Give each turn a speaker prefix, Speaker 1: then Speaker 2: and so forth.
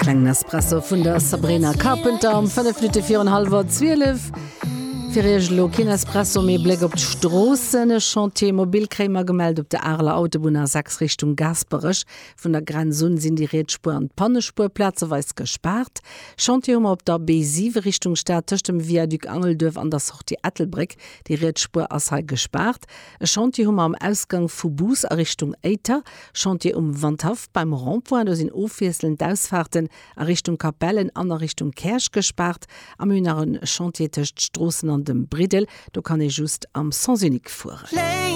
Speaker 1: Klengen Espresso vun der Sabrina Carpenter um 5 Minutte virun hallwer 12. Fir Iech elo keen Espresso, mee e Bléck op d'Stroossen. E Chantier mobile kréie mer gemellt op der Areler Autobunn A6 Richtung Gaasperech. Vun der Grenz un sinn déi riets Spuer an d'Pannespuer plazeweis gespaart. Chantier hu mer op der B7 Richtung Stad tëscht dem Viaduc Angelduerf an der Sortie Ettelbréck. Déi riets Spuer ass hei gespaart. E Chantier hu mer am Ausgang vu Bous a Richtung Éiter. Chantier um Wandhaff beim Rond-point, do sinn ofwiesselnd d'Ausfaarten a Richtung Capellen an a Richtung Käerch gespaart. A mir hunn nach e Chantier tëscht Stroossen an dem Briddel, do kann ee just am Sens unique fueren.